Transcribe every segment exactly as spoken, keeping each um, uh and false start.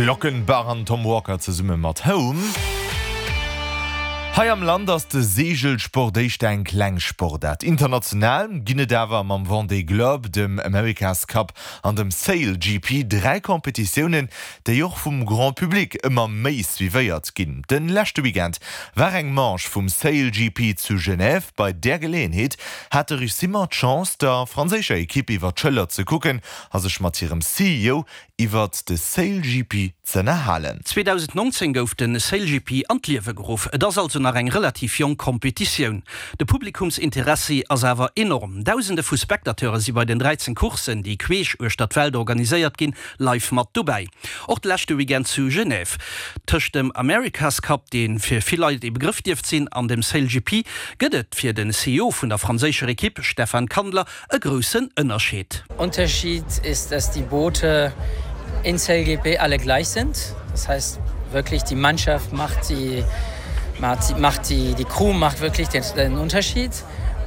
Glockenbach an Tom Walker zesumme mat Home. Hei am Land ass de Seegelsport éischter eng kleng Sportaart. International ginn et awer mam Vendée Globe, dem America's Cup an dem Sail G P dräi Competitiounen, déi och vum Grand Public ëmmer méi suivéiert ginn. De leschte Weekend war eng Manche vum Sail G P zu Genève. Bei där Geleeënheet hat de Rich Simmer d'Chance, der franséischer Ekipp iwwer d'Schëller ze kucken a sech mat hirem C E O iwwert de Sail G P z'ënnerhalen. zweedausendnonzéng gouf de Sail G P an d'Liewe geruff. Et ass also nach eng relativ jonk Kompetitioun. De Publikumsinteressi ass awer enorm. Dausende vu Spectateure si bei den dräizéng Courssen, déi queesch uechter d'Welt organiséiert ginn, live mat dobäi. Och de leschte Weekend zu Genève. Tëscht dem America's Cup, dee fir vill Leit ee Begrëff dierft sinn, an dem Sail G P gëtt et fir den C E O vun der franséischer Ekipp, Stefan Kandler, e groussen Ënnerscheed. Unterschied ist, dass die Boote in Sail G P alle gleich sind. Das heißt wirklich, die Mannschaft macht die, macht die, macht die, die Crew macht wirklich den, den Unterschied.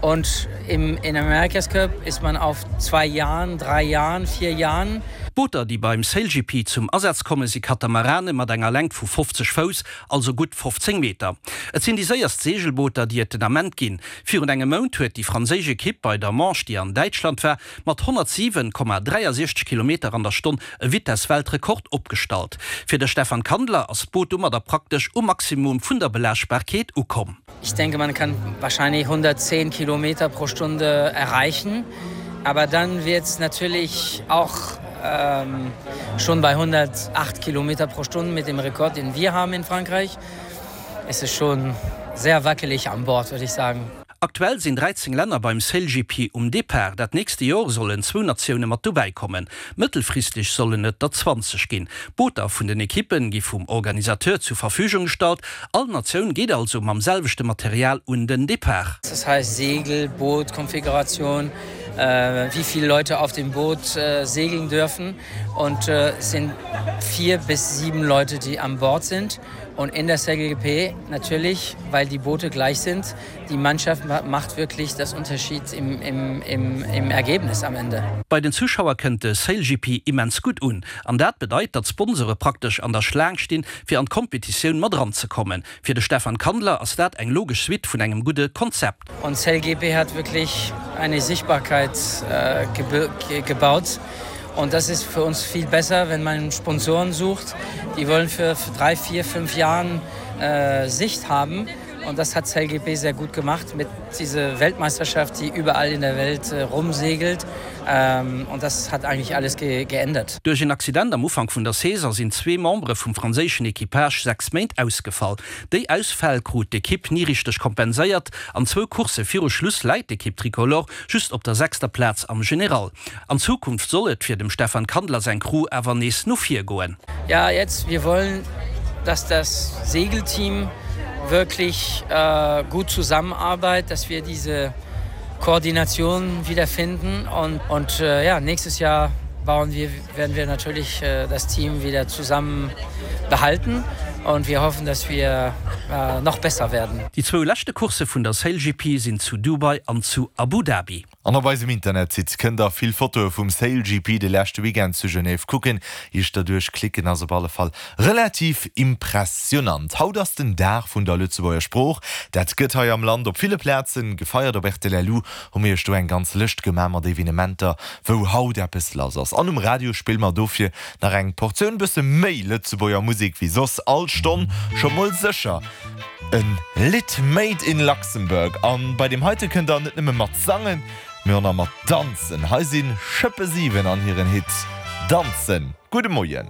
Und im, in America's Cup ist man auf zwei Jahren, drei Jahren, vier Jahren. Booter, déi beim Sail G P zum Asaz komme, si Katamarane mat enger Längt vu fofzeg Fouss, also gutt fofzéng Meter. Et sinn déi séierst Seegelbooter, déi et den Ament ginn. Virun engem Mount huet déi franséisch Ekipp bei der Manche, déi an Däitschland war, mat honnertsiwen Komma dräiasechzeg Kilometer an der Stonn e Vitesse-Weltrekord opgestallt. Fir de Stefan Kandler ass d'Boot domadder praktesch um Maximum vun der Belaaschtbarkeet ukomm. Ich denke, man kann wahrscheinlich hundertzehn Kilometer pro Stunde erreichen. Aber dann wird's natürlich auch, ähm, schon bei hundertacht Kilometer pro Stunde mit dem Rekord, den wir haben in Frankreich. Es ist schon sehr wackelig an Bord, würde ich sagen. Aktuell sinn dräizéng Länner beim Sail G P um Depart. Dat nächste Joer sollen zwou Natioune mat dobäi kommen. Mëttelfristeg sollen et der zwanzeg ginn. Booter vun den Ekippen gi vum Organisateur zur Verfügung gestallt. All Natioun geet also mam selwechte Material un den Depart. Das heißt Segel, Boot, Konfiguration, äh, wie viele Leute auf dem Boot, äh, segeln dürfen. Und, äh, es sind vier bis sieben Leute, die an Bord sind. Und in der Sail G P natürlich, weil die Boote gleich sind, die Mannschaft ma-, macht wirklich das Unterschied im, im, im, im Ergebnis am Ende. Bei den Zuschauer kënnt de Sail G P immens gutt un. An dat bedeit, datt Sponsore praktesch an der Schlaang stinn, fir an d'Kompetitioun mat ranzekommen. Fir de Stefan Kandler ass dat eng logesch Suite vun engem gudde Konzept. Und Sail G P hat wirklich eine Sichtbarkeit, äh, gebe-, ge-, gebaut. Und das ist für uns viel besser, wenn man Sponsoren sucht. Die wollen für drei, vier, fünf Jahren, äh, Sicht haben. Und das hat Sail G P sehr gut gemacht mit dieser Weltmeisterschaft, die überall in der Welt, äh, rumsegelt. Ähm, und das hat eigentlich alles ge-, geändert. Duerch en Accident am Ufank vun der Saison sinn zwee Membere vum franséischen Equipage sechs Méint ausgefall. Déi Ausfäll krut d'Ekipp nie richteg kompenséiert. An zwou Coursse viru Schluss läit d'Ekipp Tricolore just op der sechster Plaz am General. An Zukunft soll et fir dem Stefan Kandler seng Crew awer nees no vir goen. Ja, jetzt, wir wollen, dass das Segelteam wirklich, äh, gut zusammenarbeitet, dass wir diese Koordination wiederfinden und, und, äh, ja, nächstes Jahr bauen wir, werden wir natürlich, äh, das Team wieder zusammen behalten und wir hoffen, dass wir, äh, noch besser werden. Déi zwou leschte Coursse vun der Sail G P sinn zu Dubai an zu Abu Dhabi. An op eisem Internetsite kënnt der vill Fotoe vum Sail G P de leschte Weekend zu Genève kucken. Iech derduerch klicken ass op alle Fall relativ impressionant. Haut ass den Dag vun der Lëtzebuerger Sprooch. Dat gëtt hei am Land op ville Plazen gefeiert. Op R T L L U hu mir iech do eng ganz Lëscht gemaach mat Evenementer, wou haut eppes lass ass. An um Radio spille mer dofir nach eng Portioun bësse méi Lëtzebuerger Musek wéi soss all Stonn scho mol sécher. En Lidd made in Luxembourg. An bei dem heite kënnt der net nëmme mat sangen, mee och nach mat danzen. Hei sinn Schëppe siwen an hiren Hit Danzen. Gudde Moien.